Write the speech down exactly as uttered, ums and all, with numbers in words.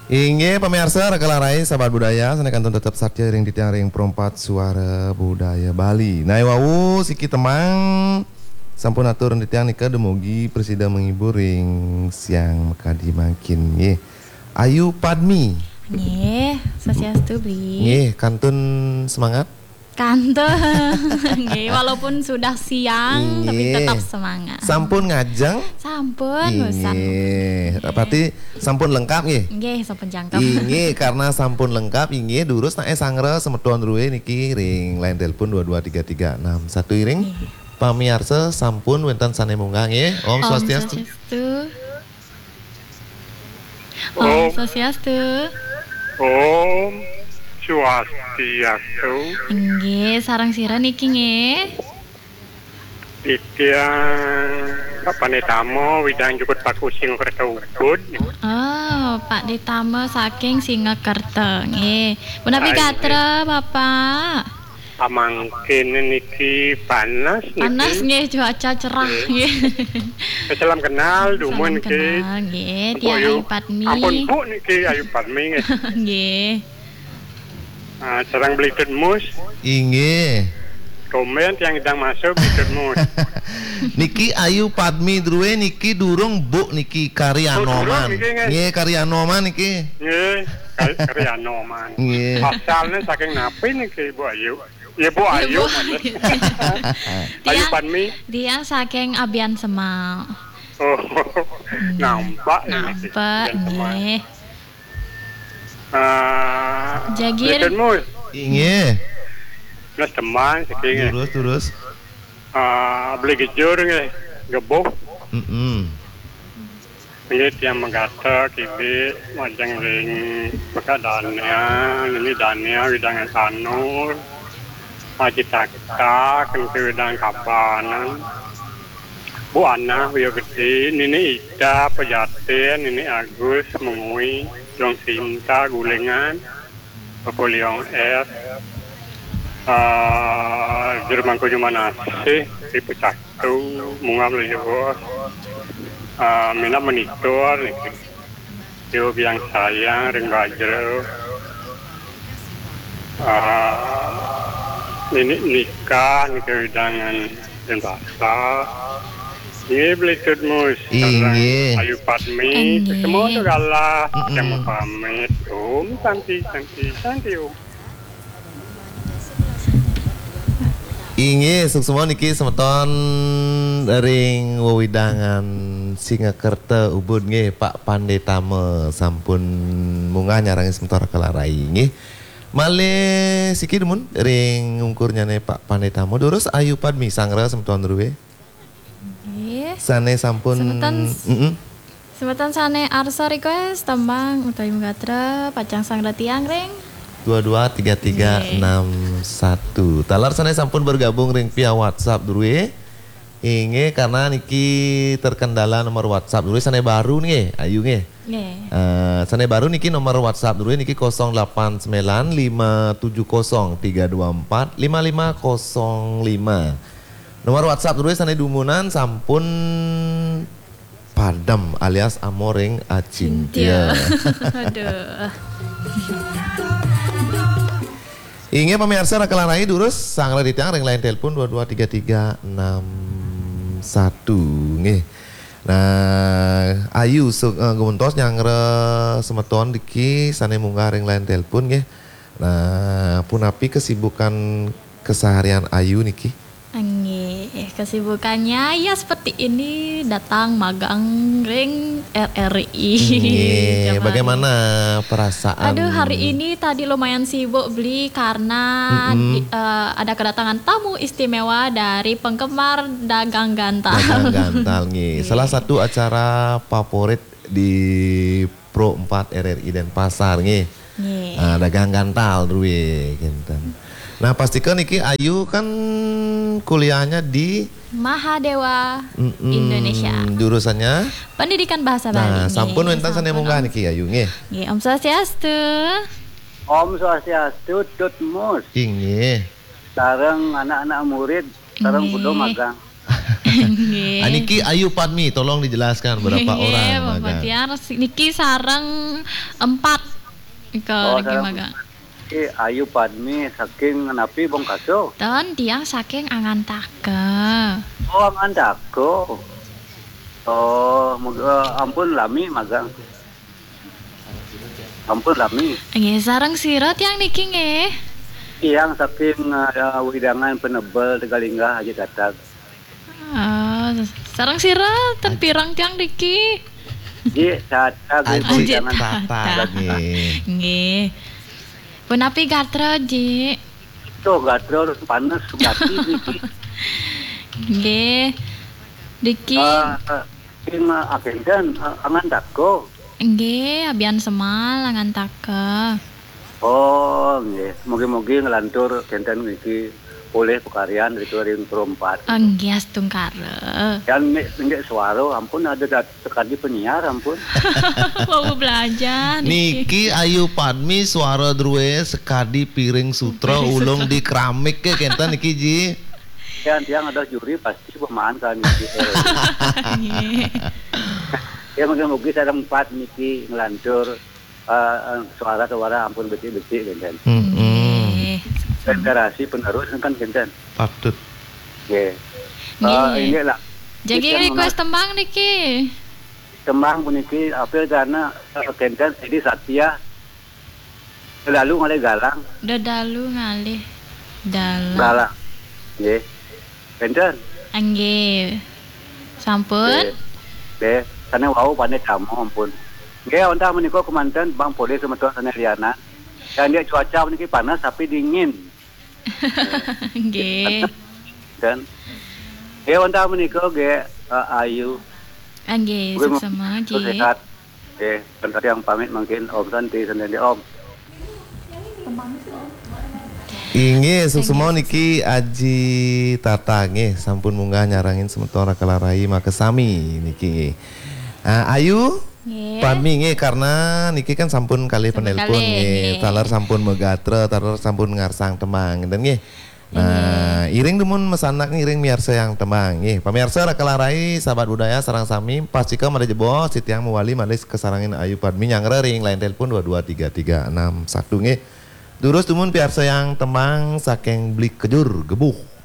Inggih, pamiarsa, Raka Larai, sahabat budaya, sané kantun tetep satia ring titiang ring Pro empat Suara Budaya Bali. Nah, wau siki tembang sampun atur ring titiang nika dumugi prasida menghibur ring siang makadi mangkin, nggih. Ayu Padmi. Nggih, swastiastu, Bli. Nggih, kantun semangat. Kantun. Nggih, walaupun sudah siang, tapi tetap semangat. Sampun ngajeng? Sampun, usan. Nggih. Berarti sampun lengkap, nggih? Nggih, sampun jangkep. Inggih, karena sampun lengkap, inggih, durus naé sangra semeton drué niki ring line telepon dua dua tiga tiga enam satu, iring. Nggih. Pamiarsa, sampun wénten sané munggah, nggih. Om Om Swastiastu. Swastiastu. Om Om. Swastiastu. Om Swastiastu. Inggih, sareng sira niki nggih? Titiang Pak Panditama, Widang Jukut Paku, Singakerta Ubud. Oh, Pak Ditama saking Singakerta nggih. Punapi gatra, Bapak? Pamangkin niki panas niki. Panas nggih, cuaca cerah nggih. Salam kenal, dumun niki. Salam kenal nggih, Ampun, tiang Ayu. Ayu Padmi. Ampun, Bu niki, Ayu Padmi nggih. Nggih. Ah, sareng Beli Tut Mus. Inggih. Tumben tiang idang masuk, Beli Tut Mus. Niki Ayu Padmi drué niki durung, Bu niki, Kari Anoman. Oh, durung niki, nggih. Nggih, Kari Anoman niki. Nggih, Kari, Kari Anoman. Nggih. Asalnya saking napi niki, Bu Ayu? Ya, Bu Ayu. Ayu Padmi. Tiang saking Abian Semal. Oh, nggih. Nampak ya niki. Nampak, Abian Semal. Nggih. Ah, Jagir. Beli Tut Mus. Inggih. Mas teman, siki nggih. Durus, durus. Ah, Beli Gejur nggih, Gebuh. Mm-mm. Nggih, tiang magatra kidik majeng ring Mekak Dania, nini Dania, Widang Sanur, Aji Takta, Kenti Widang Kabanan, Bu Anah, Wio Gede, nini Ida, Pejaten, nini Agus, Mengwi, Jong Sinta, Gulingan, Napoleon S, ah, Jero Mangku Jumanasih, Ibu Caktu, Munggah Melayu Bos, ah, Minab Monitor niki. Yo Biang Sayang, Ring Bajra, ah, Nini Nikah niki, Widangan Denpasar. Nggih, Beli Tut Mus. Inggih. Ayu Padmi. Inggih. Semua tu galah. Mm-mm. Yang pamit. Om Santi, Santi, Santi Om. Inggih, suksma niki semeton ring wewidangan Singakerta Ubud nggih, Pak Panditama sampun munggah nyarengin semeton Raka Larai nggih. Malih siki dumun ring ungkurnyané Pak Panditama. Durus Ayu Padmi sangra semeton drué. Nggih. Sané sampun, semeton s-, mm-mm. Semeton sané arsa request tembang utawi gatra pacang sangra tiang ring dua dua tiga tiga enam satu. Nggih. Taler sané sampun bergabung ring via WhatsApp drué. Inggih, karena niki terkendala nomor WhatsApp drué sané baru nggih, Ayu nggih. Nggih. Eh, sané baru niki nomor WhatsApp drué niki kosong delapan sembilan lima tujuh kosong tiga dua empat lima lima kosong lima. Nomor WhatsApp drué sané dumunan sampun padem alias amor ring acintya. Cintya. Aduh. Inggih pamiarsa Raka Larai, durus sangra titiang ring line telepon dua dua tiga tiga enam satu nggih. Nah, Ayu su-, eh, gumentos nyanggra semeton niki sané munggah ring line telepon nggih. Nah, punapi kesibukan keseharian Ayu niki? Nggih, kesibukannya ya seperti ini, datang magang ring R R I. Nggih, bagaimana perasaan? Aduh, hari ini tadi lumayan sibuk, Bli, karena di-, eh, ada kedatangan tamu istimewa dari penggemar Dagang Gantal. Dagang Gantal, nggih. Nggih. Salah satu acara favorit di Pro empat R R I Denpasar nggih. Nggih. Ah, Dagang Gantal drué kinten. Nah, pastika niki Ayu kan kuliahnya di Mahadewa Indonesia. Jurusannya? Pendidikan Bahasa Bali. Nah, sampun wénten sané munggah niki Ayu nggih. Nggih, Om Swastiastu. Om Swastiastu, Tut Mus. Inggih. Sareng anak-anak murid, sareng kudu magang. Nggih. Ah, niki Ayu Padmi, tolong dijelaskan berapa orang magang. Nggih, Bapak Tiar, si-, niki sareng empat. Nika Oh, lagi sareng magang. Niki Ayu Padmi saking napi, Bongkaso? Ten, tiang saking Angantaka. Oh, Angantaka. Oh, muga, ampun lami magang. Ampun lami. Nggih, sareng sira tiang niki nggih? Tiang saking, eh, Wewidangan Penebel Tegalinggah Haji Tatag. Oh, sareng sira ten pirang tiang niki? Ji, Tatag Aji Wewidangan. Tata. Tata. Nggih. Nggih. Punapi gatra, Ji? Tuh, gatra panes gati niki. Nggih. Niki. Eh, eh, ing, eh, akénten, eh, Angantaka. Nggih, Abian Semal Angantaka. Oh, nggih. Mugi-mugi nglantur kénten niki polih pakaryan ritu ring Pro empat. Nggih, astungkara. Yan nggih, nggih suara ampun ada dat-, sekadi penyiar ampun. Wau belajar. Niki Ayu Padmi suara drué sekadi piring sutra. Piring ulung sutra. Di keramik ké kénten niki, Ji. Yan tiang ada juri pasti pemaan kan niki. Nggih. Ya mungkin-mungkin sareng empat niki nglantur, eh, eh, suara-suara ampun becik-becik kénten. Mm-mm. Nggih. Generasi penerus kan kénten. Patut. Nggih. Nggih. Eh, ini lah. Jagi request tembang niki. Tembang puniki apil karena, eh, kénten Edi Satya. Lalu ngalih galang. Dedalu ngalih dalang. Galang. Nggih. Kénten. Nggih. Sampun? Nggih. Nggih. Sané wau pané tamu ampun. Nggih, wantah menika kemanten Bang Polih semeton sané lianan. Yan nggih cuaca puniki panas tapi dingin. Nggih. Dan nggih wantah menika nggih, eh, Ayu. Nggih, suksma nggih. Sehat. Nggih, wantah tiang pamit mangkin Om Santi Santi Om. Inggih, suksma niki Aji Tata nggih sampun munggah nyarengin semeton Raka Larai makasami niki nggih. Ah, Ayu, nggih. Padmi nggih, karena niki kan sampun kalih penelpon nggih. Taler sampun magatra, taler sampun ngarsang tembang, ngénten nggih. Nah, iring dumun masanak ngiring miarsayang tembang nggih. Pamiarsa Raka Larai, sahabat budaya sareng sami, pastika malih jebos, titiang mawali malih kasarengin Ayu Padmi nyanggra ring line telepon dua dua tiga tiga enam satu nggih. Durus dumun piarsayang tembang saking Bli Kejur Gebuh.